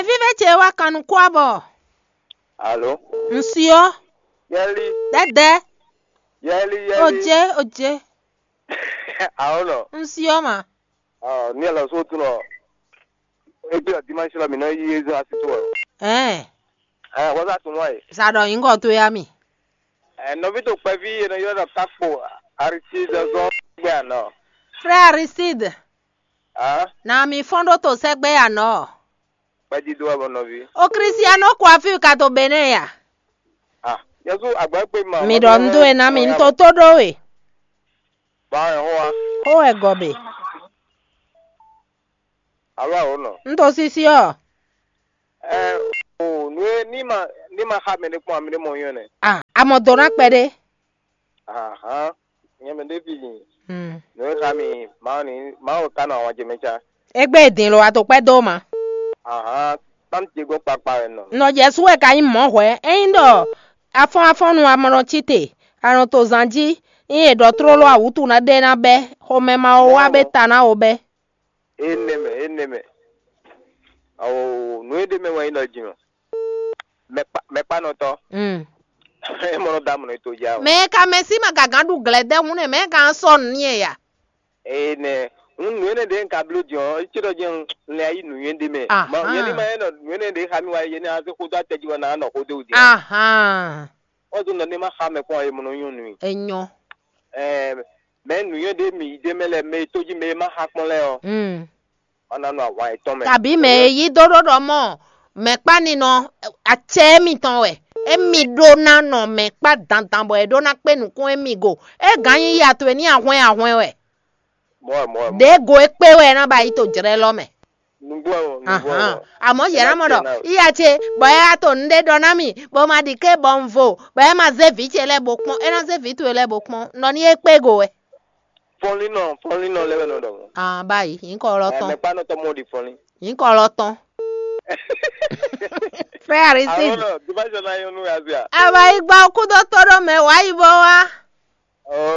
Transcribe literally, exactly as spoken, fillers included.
Vívɛ ce wá kan nukún abɔ. Alo. Ŋsyɔ. Yɛli. Dɛdɛ. Yɛli yɛli. Oje oje. Awo nɔ. Ŋsyɔ ma. Ɔ ní ɛlɔ só tún nɔ. Ebi ɔ dimanche lɔ mi nɔ yi ezo asi tó ɔ. Ɛn. Ɛ wɔza tún wá yi. Sa ɖɔ nyǐkɔ towe ami. Ɛ nɔví to kpɛví e nɔ ylɔ́ ɖɔ kakpo Aristide zɔn gbɛ anɔ. Frère Aristide. Ah. Na mi fɔ́n ɖó to sɛgbɛ anɔ. Kpɛdídó wɛ bɔ nɔví. O Cristiano Coiffure ka to Benin ya. Ah, Yesu agbɛkpe ma. Mi ɖɔ un dó e ná mi, un to tó ɖó we. Ba ɛ hoa. Xó wɛ gɔbe. Alo awo nɔ. Un to sisi ɔ. Ɛ o nue ní ma ní ma xa mɛ ɖé kpɔn ami ɖé mɔ yɔn nɛ. Ah, amɔ dó ná kpɛɖé. Ahan, nyɛ mɛ ɖé fi nyi. Hmm. Nue xa mi Mawu ni Mawu ka nɔ awɔn jɛ mɛ ca. Egbe din lo ato kpɛ dó ma. Ahan, tam te gbɔ kpakpa wɛ nɔ. Nɔ Jesu wɛ ka nyí mɔ̌ hwɛ̌. Ényí ɖɔ afɔ́n afɔ́nnu amɔ nɔ cí te, a nɔ to zan jí, nyí è ɖɔ tlóló awǔtu ná ɖe ná bɛ́, xomɛ ma wo wá bɛ ta ná wo bɛ́. Énɛ́ mɛ, énɛ́ mɛ. Awo nǔ e ɖ'é mɛ wɛ nyí ɖɔ jǐnɔ. Mɛkpa mɛkpanɔtɔ́. Mm. E mɔ nɔ da mɔ nɔ to ja o. Mɛ e ka mɛ sí ma gǎgán ɖu glɛ̌ dɛ́ hǔn nɛ mɛ e ka sɔ́ nǔ n'i ya. Énɛ́. Nǔ nǔ énɛ́ ɖě un ka bló din ɔ́, é cí ɖɔ jɛ́n un lɛ́ yí nǔnywɛ́ ɖé mɛ. Ahan. Yɛlí ma é nɔ nǔ énɛ́ ɖě xa mì wá é nɛ́ ná zé xó dó atɛ jí wɛ ná nɔ xó dó wǔ din. Ahan. Wọ́n zɔ́n ɖɔ ní ma xa mɛ kpɔ́n ɔ́, é mɔ nɔ nyɔ́ nú i. Enyɔ. Ɛɛ, mɛ nǔnywɛ́ ɖé mǐ ɖé mɛ lɛ́ɛ, mɛ e tó jí mɛ e ma xa kpɔ́n lɛ́ɛ ɔ́, Mm. Wọ́n ná nɔ ahwan yětɔn mɛ. Kabǐ mɛ e yí dó ɖó ɖɔ mɔ mɛ̌kpáninɔ acɛ émítɔn wɛ, émí ɖó ná nɔ mɛ̌kpá dandan bɔ è ɖó ná kpé nǔkún émí go. É gǎn nyí ya towe ní ahwɛn ahwɛn wɛ. Mɔ̌ wɛ, mɔ̌ wɛ, mɔ̌ wɛ. Ɖěgo e kpé wɛ é ná ba yi to jlɛ́ lɔ mɛ. Nǔgbó ɛ, nǔgbó ɛ. Ahan. Àmọ́ yě ná mɔ ɖɔ yíya ce bɔ é wá to nǔɖé ɖɔ ná mì, bɔ ma ɖi ké bɔ un vo, bɔ é ma zé vǐ ce lɛ́ɛ bó kpɔ́n, é ná zé vǐ towe lɛ́ɛ bó kpɔ́n, nɔ ní é kpé go wɛ. Fɔnlínnɔ, fɔnlínnɔ lɛ́ɛ wɛ nɔ ɖɔ mɔ̌. Ah, báyìí, nyǐkɔ lɔ tɔn. Mɛkpánɔ tɔn mɔ ɖi fɔnlín. Nyǐkɔ lɔ tɔn. Frère Aristide. Àwọn náà, dimension náà yóò nú ya sí à. Àbá igbó kúdó tó ɖó mɛ wá yí bó wá.